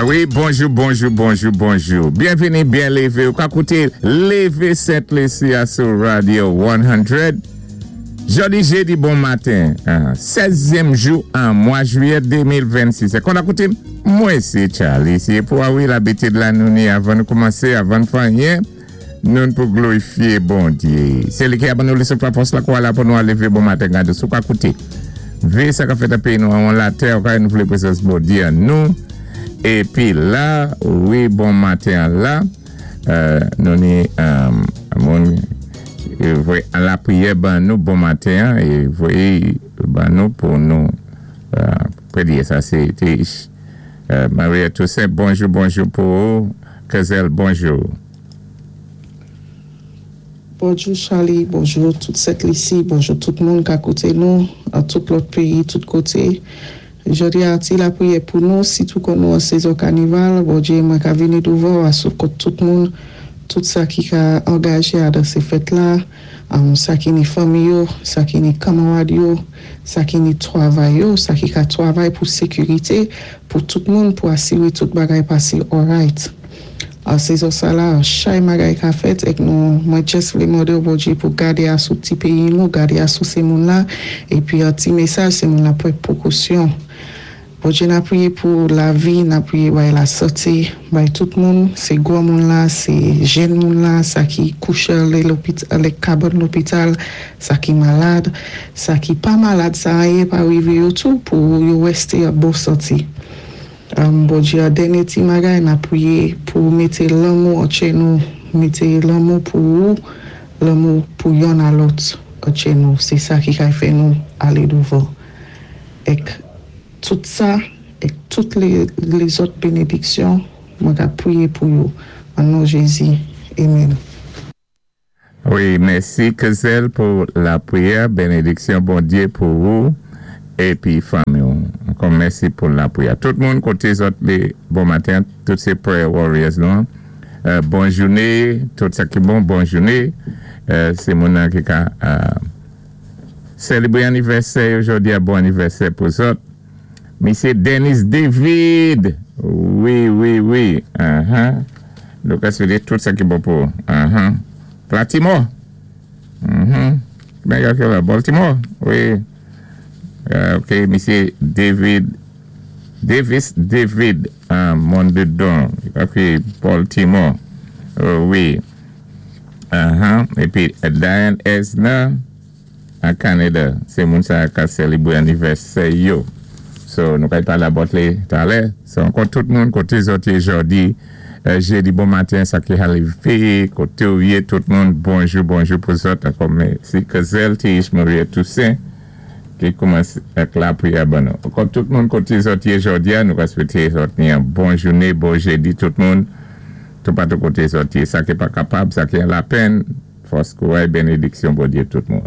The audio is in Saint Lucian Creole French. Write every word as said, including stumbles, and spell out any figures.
Wi, bonjou, bonjou, bonjou, bonjou. Byenvini, byen lévé. Ou ka kouté Lévé Sent Lisi a sou Radio san. Jòdi jédi bon maten, sèzyèm jou an mwa jwiyè de mil vennsis. É kon a kouté, mwen sé Charlie. Sé pou wi labitid la nou ni avan nou koumansé, avan fè anyen, nou pou glorifié Bondyé. Sé li ki a ban nou lé souf lafòs lakwa la pou nou a lévé bon maten gadé. Sou ka kouté. Vé sa ka fèt a péyi nou an latè, ou ka nou vlé prézans Bondyé an nou. Épi la, wi, bon maten la, euh, nou ni euh, moun voyé lapriyè ban nou bon maten é voyé ban nou pou nou euh, priyé. Sa sé euh, Maria Toussaint, bonjou, bonjou pou ou. Kezel, bonjou. Bonjou Charlie, bonjou tout Sent Lisi, bonjou tout moun ka kouté nou, an tout lòt péyi, tout koté. Jòdi a ti lapriyè pou nou, sitou kon nou an sezon kanival, Bondyé mwen ka vini douvan asou kont tout moun, tout sa ki ka angajé a dan sé fèt la, um, sa ki ni fanmi yo, sa ki ni kanmarad yo, sa ki ni twavay yo, sa ki ka twavay pou sékirité, pou tout moun, pou asiwé tout bagay pasé alright. An sezon sa la, an chay bagay ka fèt, èk nou, mwen just vlé mandé ou Bondyé pou gadé asou ti péyi nou, gadé asou sé moun la, épi an ti mesaj sé moun la pou pwékosyon. Bondyé n ap priyé pou lavi, n ap priyé bay lasanté, bay tout moun, sé gwo moun la, sé jèn moun la, sa ki kouché lé lopital, lé kabann lopital, sa ki malad, sa ki pa malad, sa anyen pa rivé yo tou pou yo wésté an bon santé. Um, Bondyé an dènyé ti bagay, n ap priyé pou mété lanmou antwé nou, mété lanmou pou ou, lanmou pou yonn a lòt antwé nou, sé sa ki kay fè nou alé douvan. Èk tout sa, èk tout lé, lézòt bénédiksyon, mwen ka priyé pou yo. An non Jézi. Amen. Wi, mèsi Kezel pou lapriyè, bénédiksyon Bondyé pou ou épi fanmi. Ankò mèsi pou lapriyè. Tout moun koté zòt lé bon maten, tout sé prayer warriors nou. Euh, bon jouné, tout sa ki bon, bon jouné. Euh, sé moun nan ki ka euh, sélébré anivèsè jòdi a bon anivèsè pou zòt. Misyé Dennis David. Wi, wi, wi. Uh-huh. Nou ka swété tout sa ki bon pou. Uh-huh. Baltimore. Mhm. Ben, la, Baltimore. Wi. Euh, ok, Misyé David Davis David uh, Mondedon. Ok, Baltimore. Euh, wi. Uh-huh. Épi Diane Esner an Kanada. Sé moun sa ka sélébré anivèsè yo. So, nou kay palé about li talè. So, ankò tout moun koté zòt yé jòdi, euh, jédi bon maten, sa ki lévé, koté ou yé, tout moun, bonjou, bonjou pou zòt. Ankò mèsi Kezel T H. Maria Toussaint ki koumansé ak lapriyè ban nou. Ankò tout moun koté zòt yé jòdi a, nou ka swété zòt ni an bon jouné, bon jédi tout moun, tout patou koté zòt yé. Sa ki pa kapab, sa ki an lapenn, fòs kouray, bénédiksyon Bondyé tout moun.